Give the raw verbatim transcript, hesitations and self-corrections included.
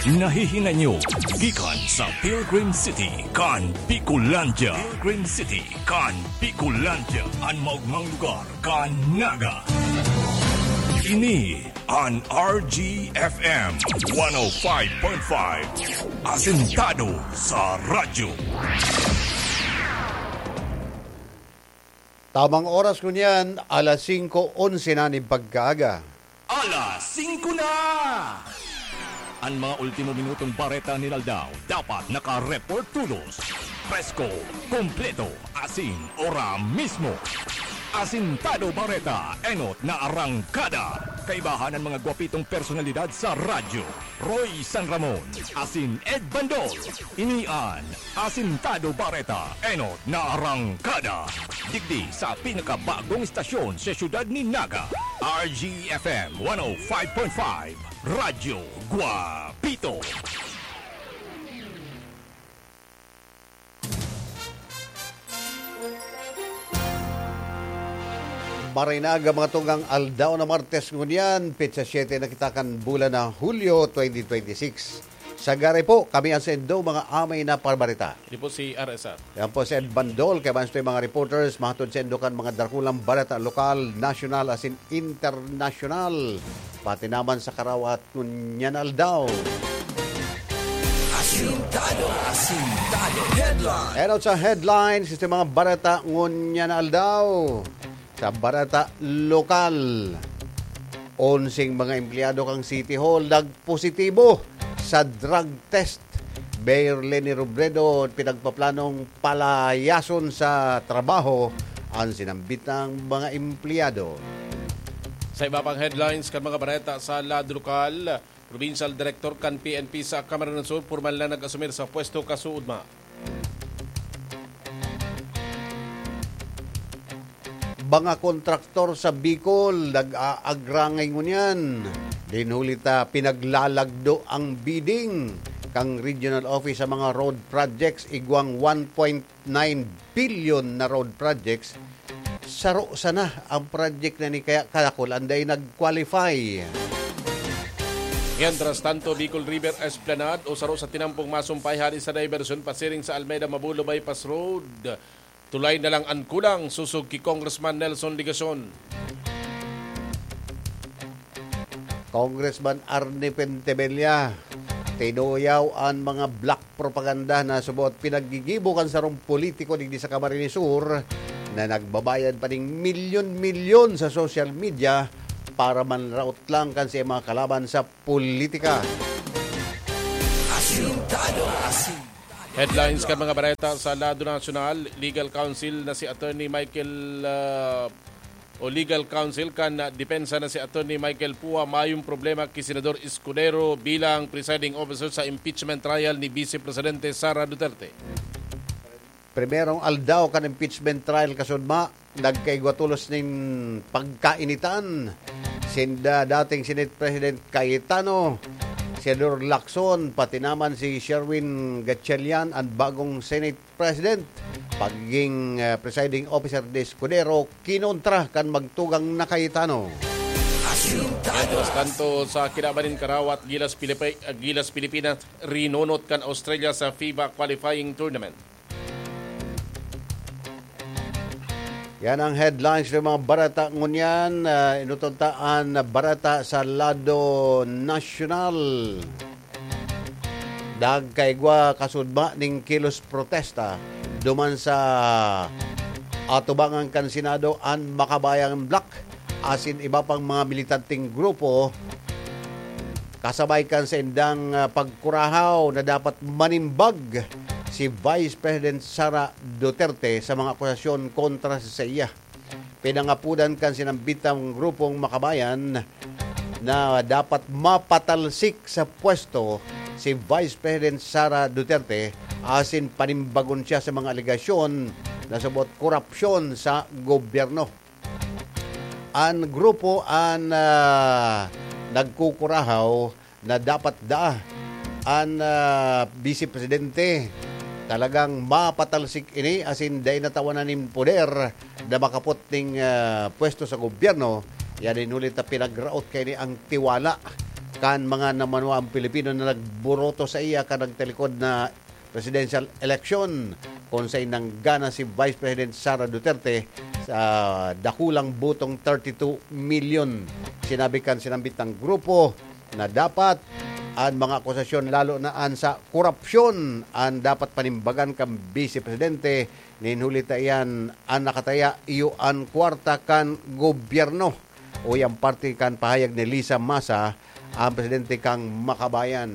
Nahihinanyo gikan sa Pilgrim City kan Bicolandia. Pilgrim City kan Bicolandia, an maogmang lugar kan Naga. Ini an R G F M one oh five point five, asentado sa radyo. Tamang oras ngunyan, alas singko onse na nin pagkaaga. Alas singko na! An mga ultimo minutong bareta nin aldaw dapat naka-report todos, presko, kompleto, asin ora mismo. Asintado Bareta, enot na arangkada. Kaibahan an mga gwapitong personalidad sa radyo, Roy San Ramon, asin Ed Bandol. Ini an Asintado Bareta, enot na arangkada. Digdi sa pinakabagong istasyon sa siyudad ni Naga, R G F M one oh five point five, Radyo Guapito. Maray na aga, mga tugang, aldaw na Martes ngunyan, petsa siyete na kita kan bulan na Hulyo twenty twenty-six. Sa gari po, kami ang sendo, mga amay na parbarita. Di po si R S R. Yan po si Ed Bandol, kaya man sa mga reporters, mahatod sendo kan mga dakulang bareta lokal, nasyonal, asin internasyonal. Pati naman sa karawat ngunyan aldaw. Asintado, asintado. Headline. Enot sa headlines, sa mga bareta ngunyan aldaw. Sa bareta lokal, onseng mga empleyado kan City Hall nagpositibo sa drug test. Mayor Leni Robredo pinagpaplanong palayason sa trabaho an sinambitang mga empleyado. Sa iba pang headlines kan mga bareta sa lado lokal, Provincial Director kan P N P sa Camarines Sur pormal na nag-asumir sa pwesto kasuodma. Mga kontraktor sa Bicol nag-aagrangay ngunyan. Dinhuli ta pinaglalagdo ang bidding kan regional office sa mga road projects, igwang one point nine billion na road projects. Saro sana ang project na ni kaya kadakul an dai nag-qualify. Mientras tanto, Bicol River Esplanade o saro sa tinampong masumpay hali sa diversyon pasiring sa Almeda Mabulo Bypass Road. Tulay na lang an kulang, sosog ki Congressman Nelson Legacion. Congressman Arnie Pentebella, tinuyaw an mga black propaganda na subot pinaggigibo kan sarong politiko digdi sa Camarines Sur na nagbabayad pa ning milyon-milyon sa social media para manraot lang kan sa mga kalaban sa politika. Asintado, asintado. Headlines kan mga bareta sa lado nasyonal, legal counsel na si Attorney Michael, ah, o legal counsel kan, ah, depensa na si Attorney Michael Pua mayong problema ki Senador Escudero bilang presiding officer sa impeachment trial ni Vice Presidente Sara Duterte. Primerong aldaw kan impeachment trial kasudma, nagkaigwa tolos nin pagkainitan sinda dating Senate President Cayetano, Senador Lacson, pati naman si Sherwin Gatchalian, an bagong Senate President. Pagiging, ah, presiding officer ni Escudero, kinontra kan magtugang na Cayetano. Mientras tanto, sa kinaban nin karawat, Gilas, Pilipi-, Gilas Pilipinas, rinunot kan Australia sa FIBA qualifying tournament. Yan ang headlines ng mga bareta ngunyan. Ah, inuton ta an bareta sa lado nasyonal. Nagkaigwa kasudma ning kilos protesta duman sa atubangan kan Senado an Makabayan Bloc asin iba pang mga militanteng grupo, kasabay kan saindang, ah, pagkurahaw na dapat manimbag si Vice President Sara Duterte sa mga akusasyon kontra sa saiya. Pinangapodan kan sinambitang grupong Makabayan na dapat mapatalsik sa pwesto si Vice President Sara Duterte asin panimbagon siya sa mga alegasyon na subot korupsyon sa gobyerno. An grupo an, ah, nagkukurahaw na dapat daa an, ah, Vice Presidente. Talagang mapatalsik ini asin dai natawanan nin poder na makapot ning, ah, pwesto sa gobyerno. Yan in huli ta pinagraot kaini ang tiwala kan mga namanuang Pilipino na nagburoto sa iya kan nagtalikod na presidential election, kun saen nanggana si Vice President Sara Duterte sa dakulang botong thirty-two million. Sinabi kan sinambit na grupo na dapat an mga akusasyon, lalo na an sa korupsyon, an dapat panimbagan kan Vice Presidente, nin huli ta iyan an nakataya iyo an kwarta kan gobyerno. Uya an parte kan pahayag ni Lisa Masa, ang presidente kan Makabayan.